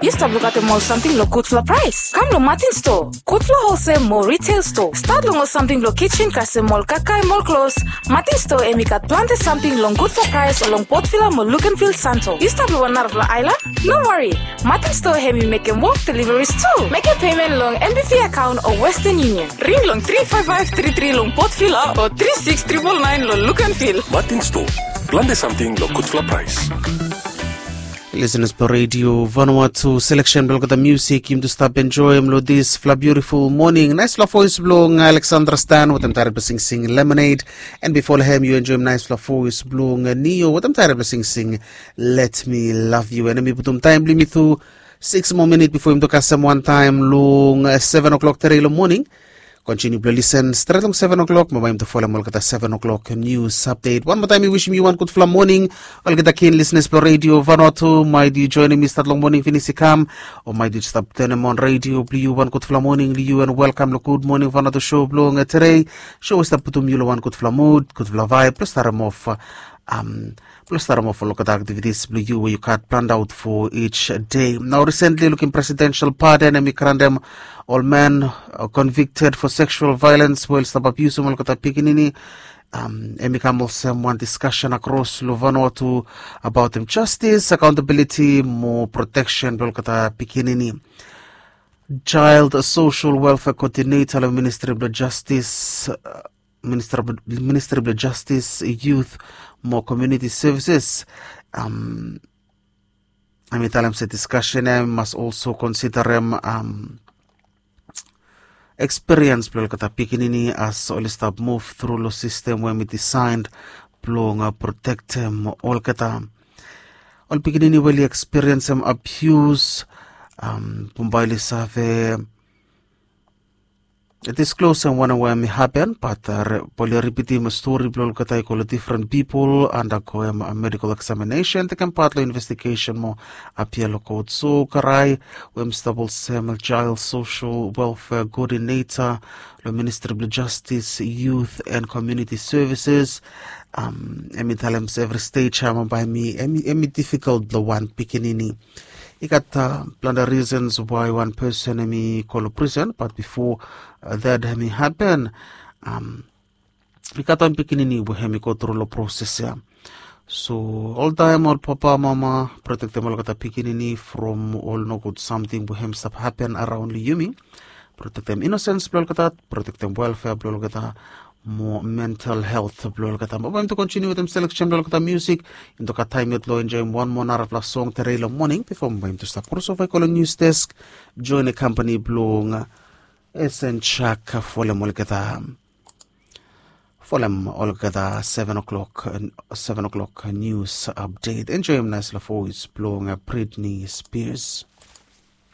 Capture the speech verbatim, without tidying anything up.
Yu stap lukaotem ol samting long gudfala praes? Kam long Martin Store, gudfala holsel mo retail store. Stat long ol samting blong kitchen kasem ol kakae mo ol klos. Martin Store hem i gat plante samting long gudfala praes long Port Vila mo Luganville Santo. Yu stap long wan narafala aelan? No wari. Martin Store hem i mekem wok deliveries tu. Mekem payment long N B V account o Western Union. Ring long three five five three three long Port Vila o three six triple nine long Luganville. Martin Store, plante samting long gudfala praes. Listeners blong Radio Vanuatu, selection blong olgeta musik yumi tu stap enjoem long disfala beautiful morning. Naesfala voes blong Alexandra Stan wetem taet blong singsing Lemonade. And before long hem yu enjoem naesfala voes blong Neo wetem taet blong singsing Let Me Love You. And hem i putum taem blong yumi tu six more minute before yumi tu kasem wan taem long seven o'clock tere long morning. Kontiniu blong lisen stret long seven o'clock mo bae yumi tu folem olgeta seven o'clock news update. Wan moa taem mi wisim yu wan gudfala moning. Olgeta kin listeners blong Radio Vanuatu, maet yu joinim mi stat long moning finis i kam, o maet yu stap tenem on radio blong yu, wan gudfala moning long yu and welkam long Gud Moning Vanuatu show blong tere. Show i stap putum yu long wan gudfala mud, gudfala vaeb blong starem of blong starem of olgeta aktivitis blong yu we yu gat planned out for each day. Nao risentli lukim presidential pardon hem i grantem ol man convicted for sexual violence we oli stap abiusim olgeta pikinini. Hem i kam olsem wan discussion across long Vanuatu abaotem justice, accountability mo protection blong olgeta pikinini. Child Social Welfare Coordinator long Ministry blong Justice, Ministry blong Justice, Youth mo Community Services, hem i talem se discussion ya i mas also considerem experience blong olgeta pikinini as oli stap move through long system we hem i design blong protektem olgeta. Ol pikinini we oli experience hem abuse, bambae oli save disclose hem wanem we hem i hapen, bat oli ripitim stori blong olgeta i go long different people, undergoem medical examination, tekem pat long investigation mo apia long kot. So Karai we hem i stap olsem Child Social Welfare Coordinator long Ministry blong Justice, Youth and Community Services, hem i talem se evri stej ya bambae hem i difficult blong wan pikinini. I gat plante reasons why wan person hem i go long prison, bat bifo that hem i hapen, i gat wan pikinini we hem i go tru long proses ya. So oltaem ol papa, mama, protektem olgeta pikinini from ol nogud samting we hem i stap hapen araon long yumi. Protektem inosens blong olgeta, protektem welfare blong olgeta, mo mental health blong olgeta. Bae yumi tu kontiniu wetem selection blong olgeta musik. Yumi tu gat taem yet long enjoem wan moa narafala song tere long moning bifo bae yumi tu stap crossover i go long news desk, join i kampani blong Esen Chak folem olgeta, folem olgeta seven o'clock, seven o'clock news update. Enjoem naesfala voes blong Britney Spears.